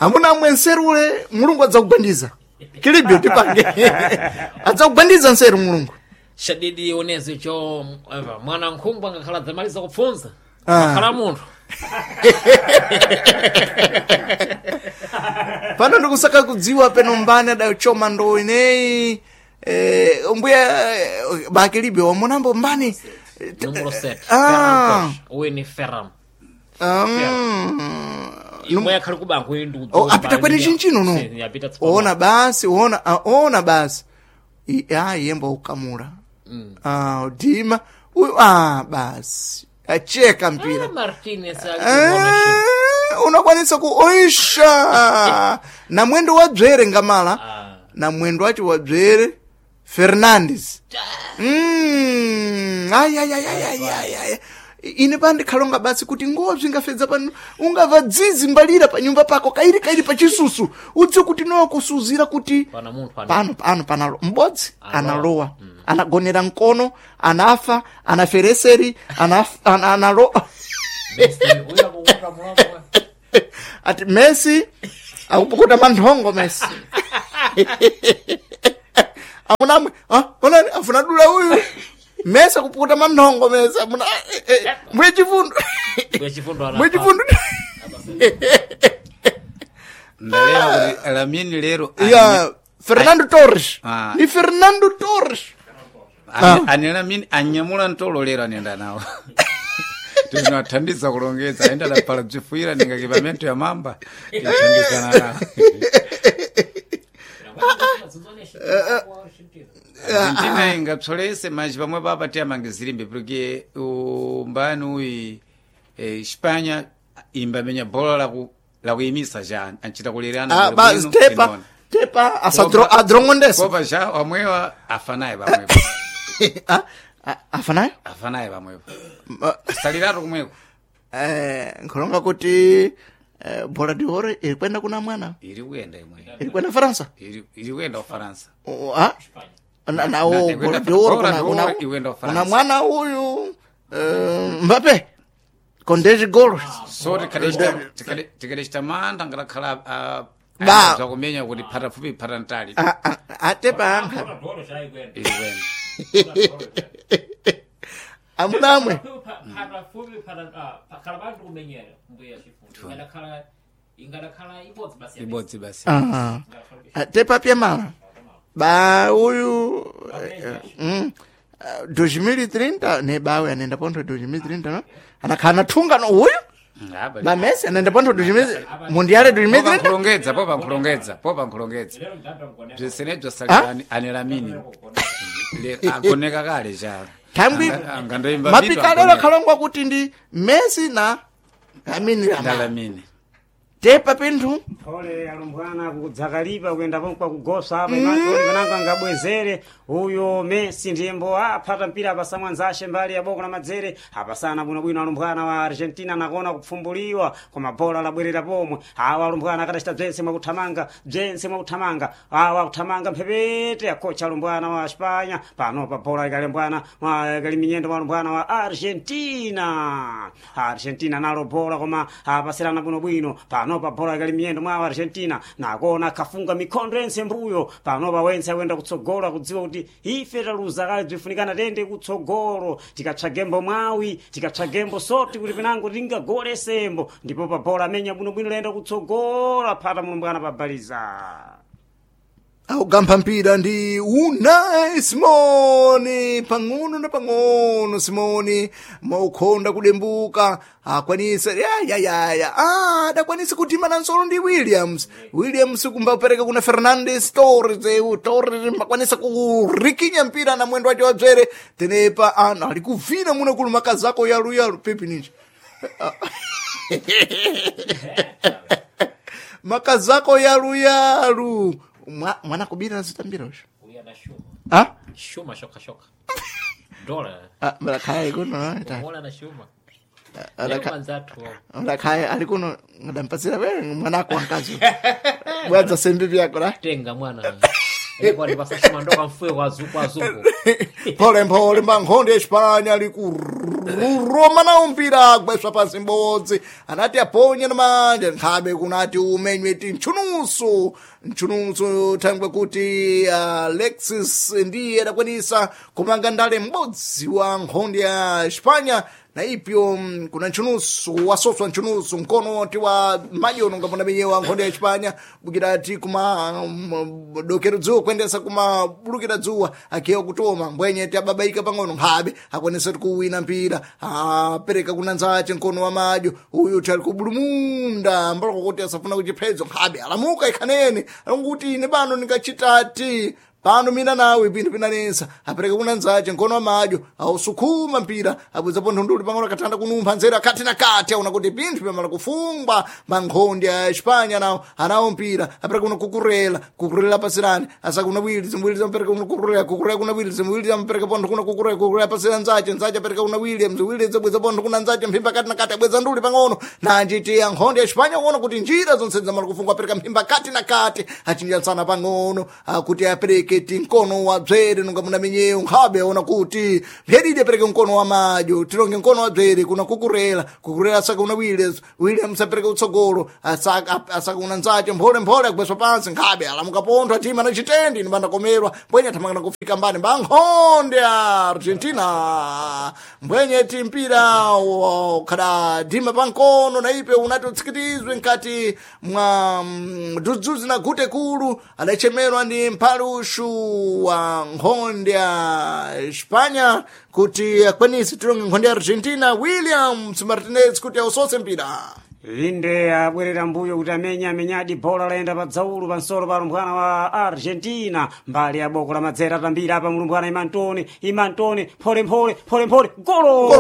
Amuna amwe nseru ule Mulungu adzakugwandiza. Kilibyo tipange. Adzakugwandiza nseru Mulungu. Shadidi onezi cho eva, mwana nkhumbu angakhala dzamaliza kupfunza. Ah. Akhala munthu. Pano ndikusaka kudziwa peno mbani adachoma ndo ineyi. Mbuya bakilibyo wamonambo mbani. Número 7. Ah. Uyu ni Ferran. Um, Imwe yakhali kubango iyi ndi Oh, apita kwene chinchino no. Yapita tsopano. Ona basi, ona, ah, ona basi. Ah, yembo ukamura. Ah, udima. Uyu ah basi. Acheka mpira. Ah, Martinez ali Unakwanisa kuoisha na mwendo wa dzvere ngamala Ah. na mwendo wacho wa dzvere Fernandes. Ai, ai, ai, ai, ai, ai, ai. Ine pandikhalonga basi kuti ngobzi ingafedza pano ungava dzizi mbalira pa nyumba pako kairi kairi pachisusu udziwe kuti nokusuzira kuti Pana munthu ana. pano pano panalo m'bodzi Analowa. analowa anagonera mkono anafa anafereseri analo Messi, uyu akukuta mulomo. ati Messi akupukuta manthongo Messi amunamwe ah, onani afuna dula uyu Messi akupukuta manthongo Messi amuna mwe chifundo Mbuya chifundo ana. mwe chifundo Ndalewa kuti Lamine lero ya Fernando Torres Ah. ni Fernando Torres ane Lamine anyamula ntolo lero anenda nawo. Tinathandiza kulongedza aenda dapala bzifuyira ninga kipamento ya mamba tithandizana nawo. Argentina ingapsolese manji pamwe papa tiyamangizirimbe porque umbani uyi Espanha imbamenya bola lakuyimisa ja anchita kulerana ah, ba tepa tepa asadro adrongondesa kopa ja wamwewa afanaye pamwepo. ah ah, afanayo Afanaye pamwepo saliratu kumweko. Nkhulonga kuti bola de oro iri kwenda kuna mwana Iri kuyenda imwe iri kwenda Faransa. Iri kuyenda Ufaransa. Oh, ah? Na na o Na- bola de oro Bola kuna de kuna Oro iwenda kuna Ufaransa. mwana uyu Mbappe con 10 gols. So tikadechita mantha ngalakhala Ba. zakumenya kuti phata fupi phata ntali. Ah, ah, atepa ankha Iri kuyenda. amunamwe Ibodzi basi. ah atepa pya mala ba uyu 2030 ne bawe anaenda pontho 2030 no anakhala nathunga no uyu Ngaba. ba Messi anaenda pontho 2000 mundiale 2030. Popankhulongedza, popankhulongedza, popankhulongedza. Bzisenebzo salira ane Lamine. Agoneka kale cha. Thangwi Angandoimba mapikalelo akhalongwa kuti ndi Messi na Lamine Yamal. Lamine. Tepa pinthu Ole alumbwana kudzakalipa kuyenda pomwe kugosa apa imanso nango angabwezere uyo Messi ndiyembo aphata mpira apasa mwanzashe mbali ya boko la madzere apasana bwinobwino alumbwana wa Argentina nakona kupfumbuliwa koma bola labwerera pomwe awa alumbwana akadachita bzense mwakuthamanga bzense mwakuthamanga awa akuthamanga mphepete akocha alumbwana wa Espanya panopa bola ikalembwana ikali minyendo wa alumbwana wa Argentina. Argentina nalo bola koma apasirana bwinobwino panopa bola ikali miyendo mwa Argentina nakona kafunga mikhondo yense mbuyo panopa wense akuyenda kutsogolo akudziwa kuti ife taluza kale bzifunikana tende kutsogolo tikatsvagembo mwawi tikatsvagembo soti kuti pinango tingagole sembo ndipo pa bola amenya bwinobwino layenda kutsogolo aphata mulumbwana pabaliza. Augampha mpira ndi Unai Simoni pang'ono na pang'ono Simoni maukhonda kudembuka akwanisa yayayaya ah, adakwanisa kutima na nsolo ndi Williams. Williams kumbapereka kuna Fernandes Torres eu Torres makwanisa kurikinya mpira na mwendo wace wabzere tenepa ana ali kuvina muna kulumaka zako yalu yalu pipi ninji makazako yalu yalu mwana kubira azitambira usho ah Shuma shoka shoka. Dola. ah mlakhaye kuno ta Bola na shuma. Alaka- Manzatu. mlakhaye ali kuno ngadampasira wewe mwanako wankazi bwadza sembi vyako la Tenga mwana. Kwati pasashimandoka mfuwe kwa azungu azungu. Pole mpole mbankhonde ya Espanya likuroma nawo mpira agweswa pansi mbodzi anati aponye na manja nkhabe kunati umenywe ti ntchunuso ntchunuso thangwe kuti Alexis ndiye adakwanisa kumanga ndale m'bodzi wa nkhonde ya Espanya na ipyo kuna ntchunuso wasoswa ntchunuso mkono ti wa madyono ngapona menyewa nkhonde ya Espanya bukirati kuma dokero dzuwa kuendesa kuma bulukira dzuwa akiwa kutoma mbwenye ti ababaika pang'ono nkhabe akwanisa tikuwina mpira apereka kuna nzache mkono wa madyo uyu ti ali kubulumunda mbaloko kuti asafuna kuchiphedzo nkhabe alamuka ikhanene alonguti ine pano ndingachitati pano mina nawe pinthu pinanesa apereka kuna nzache mkono wa madyo ausukhuma mpira abwezapo nthunduli pang'ono akathanda kunumpha nzeru akhati na kati aona kuti pinthu pamala kufungwa mankhonde a Espanya nawo anawo mpira apereka kuna kukurela kukurela pasirani asakuna Williams Williams apereka kuna kukurela kukurela kuna Williams Williams apereka pontho kuna kukurela kukurela pasirani nzache nzache apereka kuna Williams Williams abweza pontho kuna nzache mphimba kati na kati abweza nduli pang'ono nanjiti ankhonde a Espanya kuona kuti njira zonse zamala kufungwa apereka mphimba kati na kati achinjansana pang'ono akuti apereke ti mkono wa bzere nunga muna menyeyo nkhabe aona kuti mpheridi apereke mkono wa madyo tilonge mkono wa bzere kuna kukurela kukurela asaka una Williams Williams apereke utsogolo asaka una nzache mphole mphole agweswa pansi nkhabe alamuka pontho atima na chitendi ni bandakomerwa mbwenye athamangana kufika mbani mbankhonde a Argentina mbwenye ti mpira khada dima pankono na ipe unati utsikitizwe nkati mwa dzudzuzi na gute kulu adachemerwa ndi mphalushu wa nkhonde ya Espanya kuti akwanise tilonge nkhonde ya Argentina Williams Martinez kuti ausose mpira. Inde abwerera mbuyo kuti amenya amenyadi bola layenda pa dzaulu pansolo pa lumbwana wa Argentina mbali ya boko la madzera atambira apa mulumbwana Imantoni Imantoni phole mphole phole mphole golo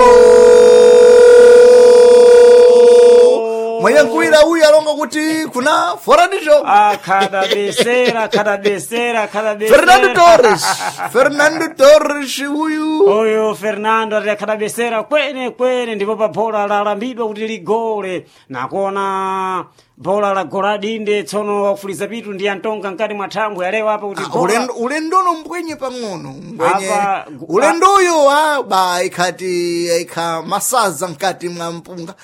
Mwenye nkuwira uyu alonga kuti kuna fora ndi jogo. Akhadabesera akhadabesera akhadabesera Fernando Torres Fernando Torres uyu uyu Fernando ati akhadabesera kwene kwene ndipo pa bola lalambidwa kuti ligole nakuona bola la gola dinde tsono wakufuliza pitu ndi antonga mkati mwa thambwe alewa apa kuti bola ulendono mbwenye pang'ono mbwenye Apa- ulendoyo ba ikhati ikha masaza mkati mwa mpunga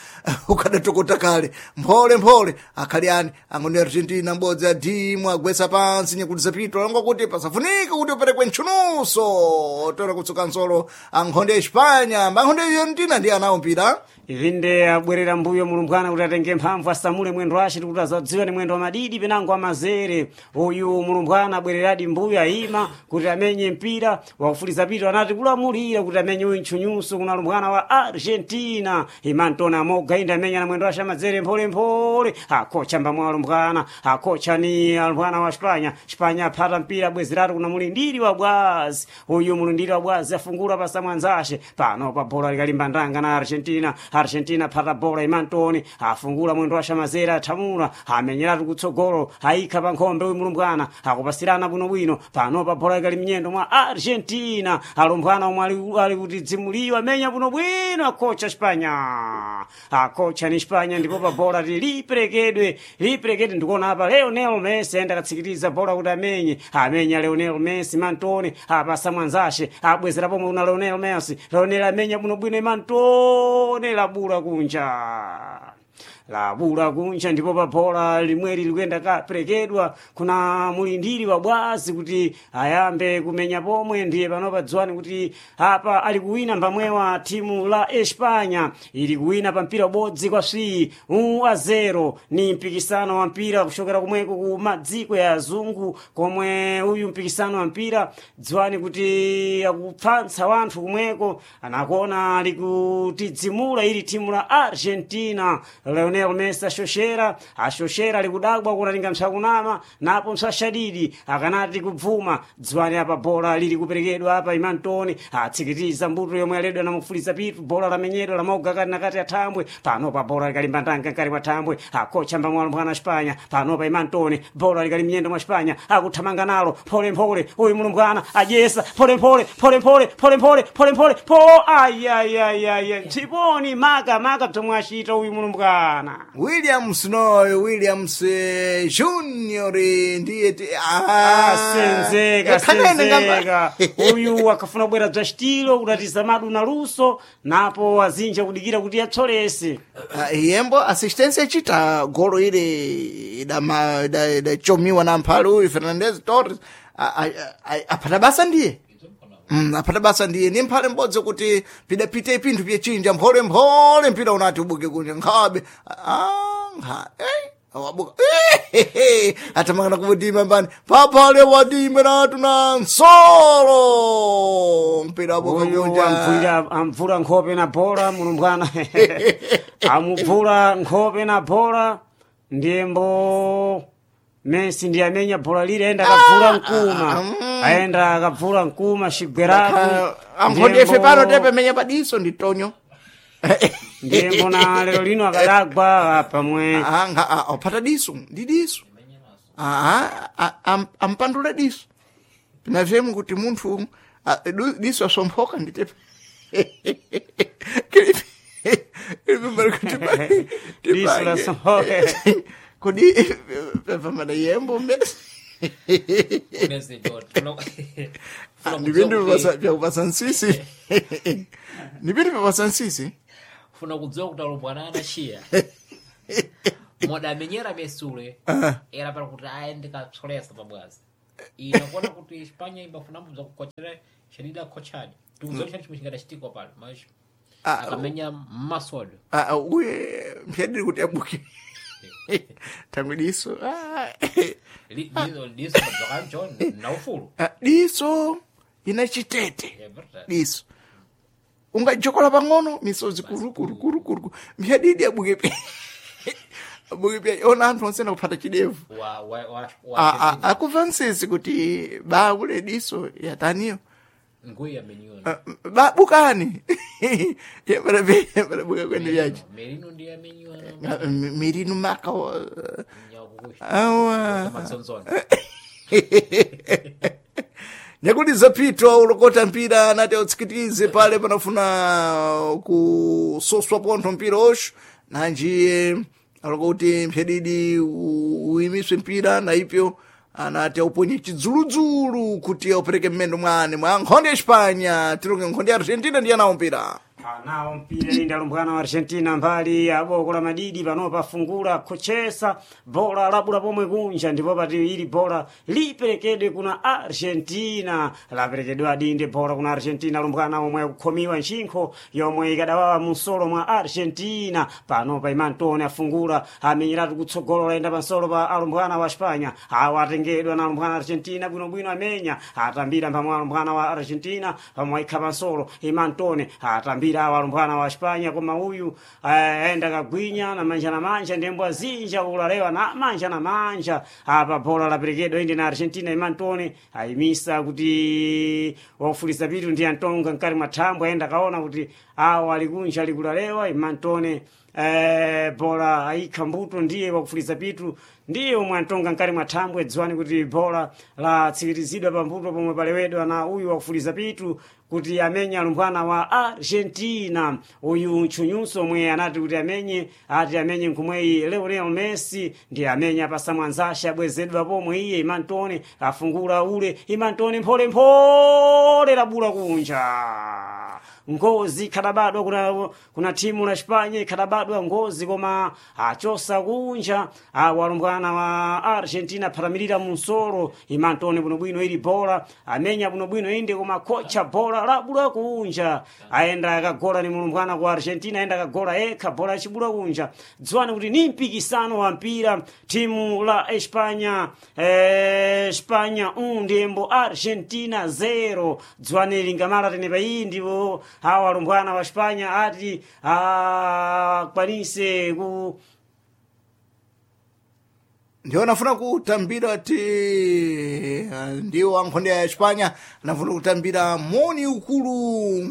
ukadatokota kale mphole mphole akhali ani angoni Argentina mbodzi adimu agwesa pansi nyakuti zapito alonga kuti pasafunika kuti uperekwe ntchunuso toera kutsuka nsolo ankhonde ya Espanya mbankhonde ya Argentina ndiye anawo mpira Inde abwerera mbuyo mulumbwana kuti atenge mphamvu asamule mwendo wace tikuti azadziwa ni mwendo wa madidi penango amazere uyu mulumbwana abwereradi mbuyo ayima kuti amenye mpira wakufuliza pito anati kulamulira kuti amenye uyu ntchunyuso kuna lumbwana wa Argentina imantona amoga inde amenya na mwendo wace amazere mpholemphole akocha mbamwa alumbwana akocha ni alumbwana wa Spanya Spanya aphata mpira abwezeratu kuna mulindiri wa bwazi uyu mulindiri wa bwazi afungula pasamwanzace pano pa bola likalimba ndanga na Argentina Argentina phata bola imantoni afungula mwendo wa shamazera athamula amenyeratu kutsogolo ayikha pa nkhombe uyu mulumbwana akupasirana bwinobwino pano pa bola ikali mnyendo mwa Argentina alumbwana omwe ali kuti dzimuliyo amenya bwinobwino akocha Spanya akocha ni Spanya ndipo pa bola liperekedwe liperekedwe ndikuona apa Lionel Messi ayenda akatsikiriza bola kuti amenye amenya Lionel Messi mantoni apasa mwanzace abwezera pomwe kuna Lionel Messi Lionel amenya bwinobwino imantoni labula kunja labula kunja ndipo pa bola limweri likuyenda kaperekedwa kuna mulindiri wa bwazi kuti ayambe kumenya pomwe ndiye panopa dziwani kuti apa ali kuwina mbamwewa timu la Espanya ili kuwina pa mpira ubodzi kwa swi a 0 ni mpikisano wa mpira kuchokera kumweko ku madziko ya azungu komwe uyu mpikisano wa mpira dziwani kuti akupfantsa wanthu kumweko anakuona ali kutidzimula ili timu la Argentina Lionel Messi ashoshera ashoshera ali kudabwa kunalinga msakunama napo msashadidi akanati kubvuma dziwani apa bola lili kuperekedwa apa imantoni atsikitiza mbuto yomwe aledwa namufuliza pitu bola lamenyedwa lamoga kati nakati athambwe panopa bola likalimba ndanga nkati mwa thambwe akocha mbamwalo mwana Spanya panopa imantoni bola likali mnyendo mwa Spanya akuthamanga nalo phole mphole uyu mulumbwana adyesa phole mphole phole mphole phole mphole phole mphole po ayayayaya mtsiponi maka maka bzomwe achita uyu mulumbwana alumbwana. Williams noyo Williams Junior ndiye Senzeka senzeka uyu akafuna kubwera bza xitilo kudatiza madu na luso napo azinja kudikira kuti atsolese. Yembo assistência echita golo ile idachomiwa na mphale uyu Fernandez Torres aphata basa ndiye aphata basa ndiye ni mphale mbodzi kuti pidapite pinthu pyechinja mphole mphole mpira unati ubuke kunja nkhabe wabuka atamangana kuvudima mbani paphale wadime natu na nsolo mpira wabuka Uyu kunja amvula nkhope na bola mulumbwana amubvula nkhope na bola ndiyembo Messi ndiye amenya bola lile aenda akabvula mkuma aenda akabvula mkuma xigweraku amphonde ife pano tepemenya padiso ndi tonyo ndiyembo na lero lino akadagwa pamwe aphata diso ndi diso ampandule diso pinavyemu kuti munthu diso asomphoka nditepe Diso lasomphoka. kodi pamana yembo mbese ndipindu vyakupasa nsisi ndipindu vyapasa nsisi Funa kudziwa kuti alumbwana anaxiya modamenyera mesule era para kuti aende kapsolesa pabwazi ina kuona kuti Espanha imbafuna mbudza kukochera xanida kochani tikudziwa chani chimwe chingadachitikwa pano mas akamenya mmasodo. Uye mpyadiri kuti abuke tangwe diso. Diso madzokanjo na ufulu. Diso ina chitete. É verdade. Diso ungajokola pang'ono misozi kurukurukurukuru mpyadidi abuke pya abuke pya ona anthu onse nakuphata chidevu. Wa wa wa wa Akuva nsisi kuti bakule diso yataniyo. Nguya amenyona. Babukani yabarabuka kwene vyachi. Merino ndiye amenyona. Mirinu maka Nyakukusha awa matsonzona. Nyakuti zapitwa ulokota mpira anati autsikitize pale panafuna kusoswa pontho mpira osho nanjiye alokuti mphyadidi uyimiswe mpira na ipyo anati auponye chidzuludzulu kuti aupereke mmendo mwane mwa nkhonde ya Espanya tilonge nkhonde ya Argentina ndiye anawo mpira. Anawo mpira inde alumbwana wa Argentina mbali ya boko la madidi panopa afungula kochesa bola labula pomwe kunja ndipo pati ili bola liperekedwe kuna Argentina laperekedwa adinde bola kuna Argentina alumbwana omwe akukhomiwa ntchinkho yomwe ikadawawa munsolo mwa Argentina panopa Imantone afungula amenyeratu kutsogolo layenda pansolo pa alumbwana wa Espanya awa atengedwa na alumbwana Argentina bwinobwino amenya atambira mpamwe alumbwana wa Argentina pamwe aikha pansolo Imantone atambira awa alumbwana wa Espanya koma uyu aenda kagwinya na manja na manja ndembo azinja ulalewa na manja na manja apa bola laperekedwa inde na Argentina Imantone ayimisa kuti wafulisa pitu ndi Antonga mkati mwa thambwe aenda kaona kuti awa alikunja alikulalewa Imantone bola aikha mbuto ndiye wakufuliza pitu ndiye omwe antonga nkati mwa thambwe dziwani kuti bola latsikirizidwa pambuto pomwe palewedwa na uyu wakufuliza pitu kuti amenye alumbwana wa Argentina uyu ntchunyunso omwe anati kuti amenye ati amenye nkhumweyi Lionel Messi ndiye amenye apasa mwanzashe abwezedwa pomwe iye Imantone afungula ule Imantone mpholemphole labula kunja ngozi ikhadabadwa kuna timu la Espanya ikhadabadwa ngozi koma achosa kunja awalumbwana wa Argentina phatamirira munsolo Imantone bwinobwino ili bola amenya bwinobwino inde koma kocha bola labula kunja aenda akagola ni mulumbwana ku Argentina aenda akagola ekha bola achibula kunja dziwani kuti ni mpikisano wa mpira timu la Espanya Espanya ndiyembo Argentina 0 dziwani lingamala tenepa iyi ndipo awa alumbwana wa Espanya ati akwanise ku Ndiwo anafuna kutambira ti ndiwo ankhonde ya Espanya anafuna kutambira moni ukulu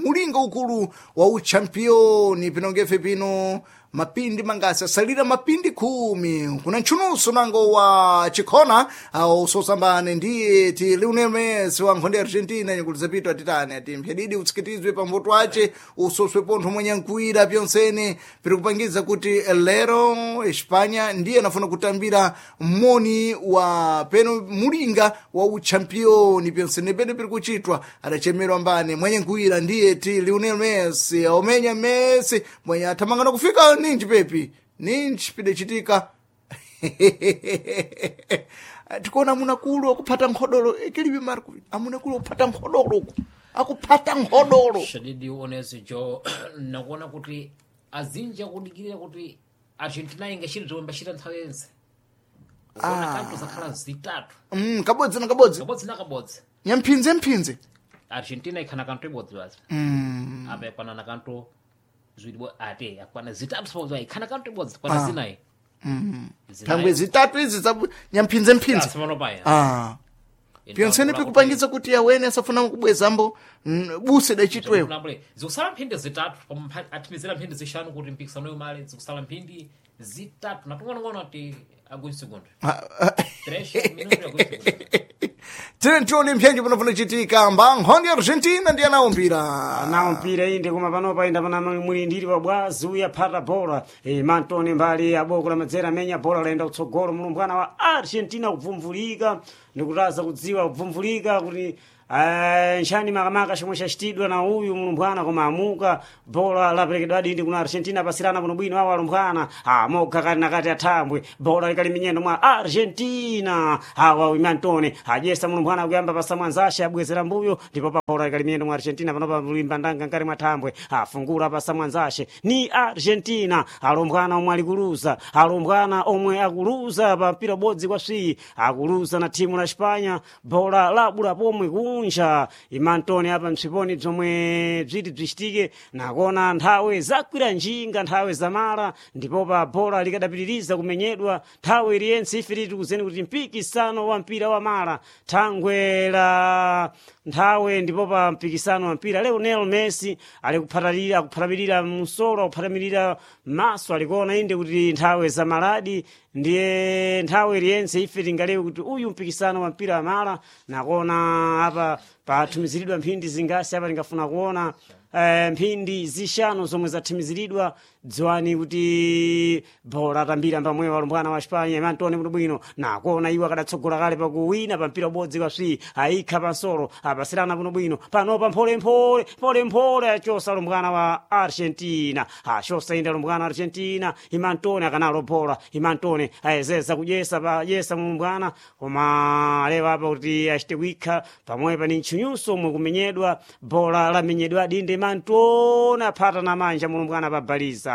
mulinga ukulu wa uchampioni pinongefe pino. Mapindi mangasi asalira mapindi 10 kuna ntchunuso nango wa chikhona usosambane ndiye ti Lionel Messi wa nkhonde ya Argentina nyakulizapito atitani ati mphyadidi utsikitizwe pambuto ace usoswe pontho mwenye nkuira pyonsene piri kupangiza kuti lero Espanya ndiye anafuna kutambira moni wa peno mulinga wa uchampioni pyonsene pene piri kuchitwa adachemerwa mbane mwenye nkuira ndiye ti Lionel Messi aumenya Messi mwenye athamangana kufika ninji pepi ninji pidachitika tikuona amunakulu akuphata nkhodolo ikilibi Marco amunakulu akuphata nkhodolo uku akuphata nkhodolo Shadidi onezi jo nakuona kuti azinji akudikirira kuti Argentina ingachita zomwe mbachita nthawi yense. Ukuona kanthu zakhala zitatu. Kabodzi na kabodzi Kabodzi na kabodzi. nyamphinze mphinze Argentina ikhana kanthu ibodzi basi. Apa ikwana na kanthu ziwiri ate akwana zitatu sabodzi ikhana kanthu ibodzi kwana zinayi. Thangwe zitatu izi za nyamphinze mphinze Simano paya. Pyonsene pikupangitsa kuti awene asafuna kubwezambo buse dachitwewo Zikusala mphindi zitatu pamwe athimizira mphindi zishanu kuti mpikisano yomale zikusala mphindi zitatu natung'onong'ono ati agwin segundo. Três minutos agwin segundo. Tine tione mphenji panofuna chitika mba nkhondo ya Argentina ndiye anawo mpira Nawo mpira inde koma panopa inda pana mulindiri wa bwazi uya phata bola e, mantone mbali ya boko la madzera amenya bola laenda kutsogolo mulumbwana wa Argentina kubvumvulika ndikutaza kudziwa kubvumvulika kuti nchani makamaka chomwe chachitidwa na uyu mulumbwana koma amuka bola laperekedwa adindi kuna Argentina pasirana bwinobwino awo alumbwana amoga kati nakati athambwe bola likali minyendo mwa Argentina awa imantone ajesa mulumbwana kuyamba pasamwanzashe abwezera mbuyo ndipo pa bola likali minyendo mwa Argentina panopa mulimba ndanga nkati mwa thambwe afungula pasamwanzashe ni Argentina alumbwana omwe alikuluza alumbwana omwe akuluza pa mpira ubodzi kwa swiyi akuluza na thimu la Espanya bola labula pomwe kunja imantone apa msiponi bzomwe bziti bzichitike nakona nthawi zakwira njinga nthawi zamala ndipo pa bola likadapitiriza kumenyedwa nthawi iliyense ife titi kuzeni kuti mpikisano wa mpira wa mala thangwe la nthawe ndipo pa mpikisano wa mpira Lionel Messi ali kuphatalira akuphatamilira msolo akuphatamilira maso alikuona inde kuti nthawe zamaladi ndiye nthawi iliyense ife tingalewe kuti uyu mpikisano wa mpira wa mala nakona apa pathumiziridwa mphindi zingasi apa tingafuna kuona mphindi zishanu zomwe zathimiziridwa dziwani kuti bola atambira mbamweyo alumbwana wa Espanya imantone bwinobwino nakuona iwo akadatsogola kale pakuwina pa mpira ubodzi kwa swi ayikha pansolo apasirana bwinobwino panopa mpholemphole mpholemphole achosa alumbwana wa Argentina achosa inde alumbwana wa Argentina imantone akanalo bola imantone ayezeza kudyesa payesa mulumbwana koma alewa apa kuti achite kuikha pamwepa ni ntchunyuso omwe kumenyedwa bola lamenyedwa dinde imantone aphata na manja mulumbwana pabaliza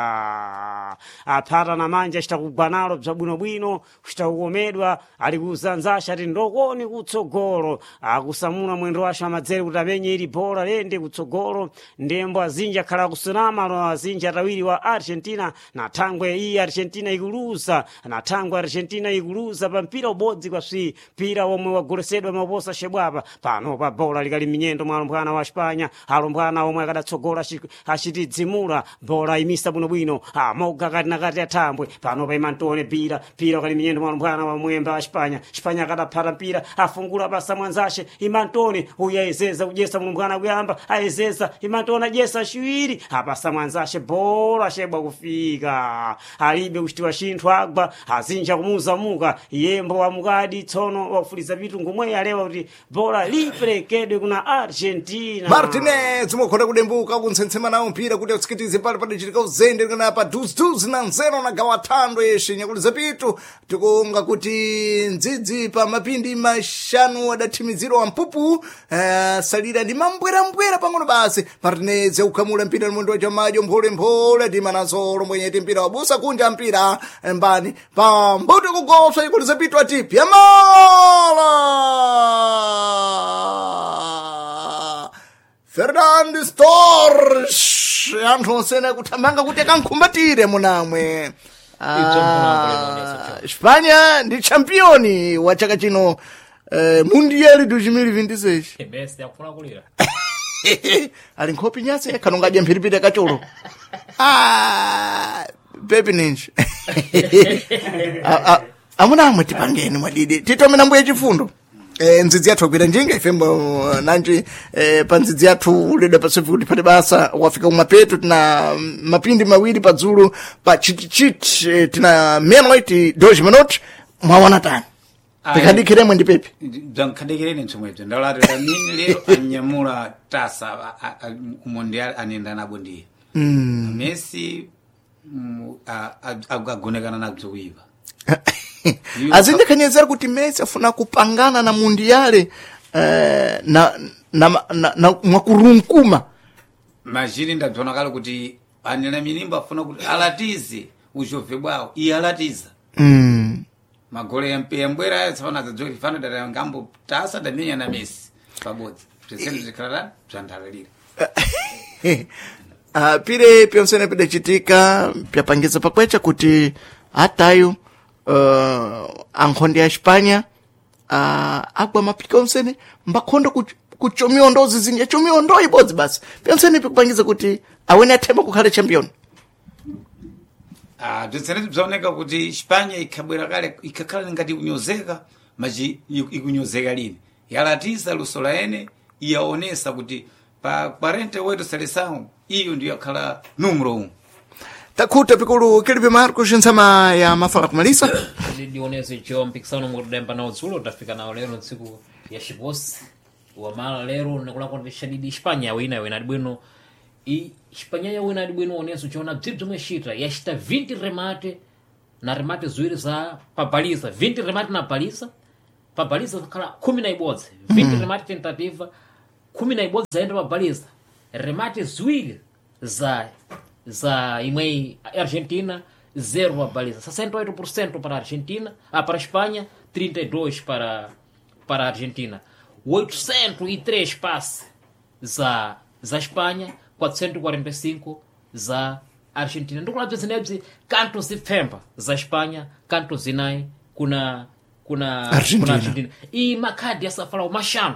aphata na manja achita kugwa nalo bzabwinobwino kuchita kukomedwa ali kuzanzasha ati ndokoni kutsogolo akusamula mwendo wace amadzere kuti amenye ili bola lende kutsogolo ndembo azinji akhala akusunama alo azinji atawiri wa Argentina na thangwe iyi Argentina ikuluza na thangwe Argentina ikuluza pa mpira ubodzi kwa swi mpira omwe wagolesedwa maposa shebwapa pano pa bola likali minyendo mwa alumbwana wa Espanya alumbwana omwe akadatsogola achitidzimula bola imisa bwinobwino amoga kati nakati athambwe pano pa imantone pira pira ukali minyendo mwa alumbwana wa mwemba wa Espanya Espanya akadaphata mpira afungula basa mwanzashe imantone uyu ayezeza kudyesa mulumbwana kuyamba ayezeza imantone adyesa chiwiri apasa mwanzashe bola shebwa kufika alibe kuchitiwa chinthu agwa azinja kumuzamuka yembo wamukadi tsono wakufuliza pitu ngomwe alewa kuti bola liperekedwe kuna Argentina Martinez mukhona kudembuka kuntsensema nawo mpira kuti atsikitize pali padachitika uzende kana pa duziduzi na nzero na gawa thando yeshe nyakuliza pitu tikunga kuti ndzidzi pa mapindi mashanu adathimizirwa wampupu salira ndi mambwerambwera pang'ono basi Martinez akukhamula mpira mwendo wa chamajo mpholemphole timanasolo mwenyeti mpira wabusa kunja mpira mbani pambuto kugoswa nyakuliza pitu ati pyamala Fernando Storch anthu onsene akuthamanga kuti akankhumbatire munamwe. Ibzo mpunambo Espanya ndi championi wa chaka chino Mundial 2026 Messi akufuna kulira. Ali nkhopi nyase khanonga adya mphiripiri akacholo. Pepi ninji. Amuna amwe tipangeni mwadidi. Titome na mbuye chifundo. Ndzidzi yathu akwira njinga ifembo nanji pa ndzidzi yathu uleda pasefu kuti pali basa wafika kumapeto tina mapindi mawiri padzulu pa chitichiti tina meia-noite 2 minutos mwaona tani tikadikiremwe ndi pepi bzankhadekereni mtsomwebzo ndalati lamini lero anyamula tasa umondial anenda nabo ndiye Messi agonekana nabzo kuipa. Azindikhanyezera kuti Messi afuna kupangana na mundiyale na mwakurunkuma Majini ndabzona kale kuti anena minimbo afuna kuti alatize uzhove bwawo iye alatiza magole yambwera aya tsapano adzadziwa kuti fano dada ngambo tasa damenya na Messi pabodzi bzesene zikhala bzandalalira. Pire pyonsene pidacitika pyapangiza pakwecha kuti atayo ankhonde ya Espanha agwa mapika onsene mbakhondo kuchomiondo zizinja chomiondo ibodzi basi pyonsene pikupangiza kuti awene athemba kukhala champion. Bzesene bzaoneka kuti Espanya ikhabwera kale ikakhala ngati kunyozeka machi ikunyozeka lini yalatiza luso la ene iyaonesa kuti pa 48 seleção iyo ndiyo yakhala numero 1. Takhuta pikulu Kilipe Marcos ntsama ya mafala kumalisa. Ndionese cho mpikisano mukudemba nawo dzulo tafika nawo lero ntsiku ya xiposi wamala lero nikulakwa ndishadidi Espanya wina wina adibwino i Espanya yawina adibwino oneso chona bzibzi zomwe xita yaxita 20 remate na remate ziwiri za pabaliza 20 remate na baliza pabaliza zakhala 11 20 remate tentativa 11 zayenda pabaliza remate ziwiri za imwe Argentina 0 pabaliza 68% para a Argentina, para a Espanha 32 para a Argentina 803 passe za Espanha 445 za Argentina ndikulabza zinebzi kanto zipfemba za Espanha kanto zinayi kuna kuna Argentina. kuna Argentina i makhadi asafalawo maxanu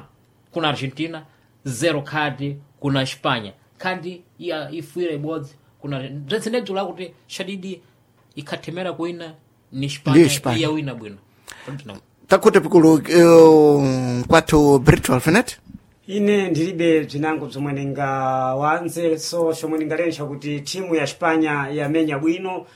kuna Argentina zero khadi kuna Espanha khadi ya ifuira ibodzi kuna bzenzenebzi lakuti shadidi ikhathemera kuina ni Ndiyo Espanha Espanha. iyawina bwino Takhuta pikulu kwathu Brito Alfinet. Ine ndilibe bzinango bzomwe ndingawanze so chomwe ndingalensha kuti timu ya Espanya yamenya bwino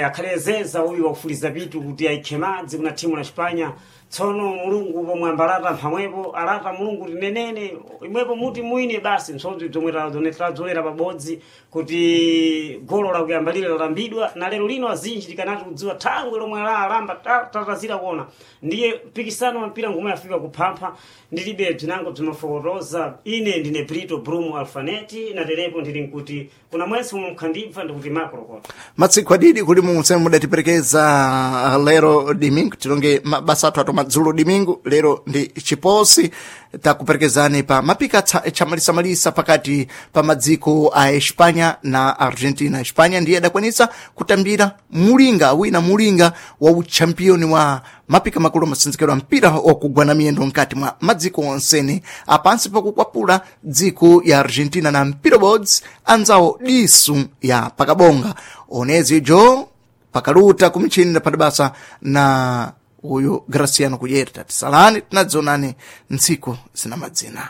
akhalezeza uyu wakufuliza pitu kuti ayikhe madzi kuna timu la Espanya tsono mulungu pomwe ambalata mphamwepo alata mulungu tinenene imwepo muti mwine basi msodzi bzomwe tadzolera pabodzi kuti golo lakuyamba lile lalambidwa na lero lino azinji tikanati kudziwa thangwe lomwe alamba tatazira kuona ndiye mpikisano wa mpira ngomwe afika kuphampha ndilibe bzinango bzimafokotoza ine ndine Brito Brumo Alfaneti naterepo ndili nkuti kuna mwezi umwe mkhandibva ndikuti makolokota Matsiku adidi kuli munseme mudatiperekeza lero dimingu tilonge mabasa athu ato madzulo dimingu lero ndi chiposi takuperekezani pa mapika chamalisamalisa pakati pa madziko a Espanya na Argentina. Espanya ndiye adakwanisa kutambira mulinga wina mulinga wa uchampioni wa mapika makulu amasinzikiro a mpira wakugwana miyendo mkati mwa madziko onsene apansi pakukwapula dziko ya Argentina na mpira bodzi anzawo disu ya pakabonga onezi jo pakaluta kumichini padabasa na uyu Graciano Kuyerta tisalani tinadzonani ntsiku zina madzina.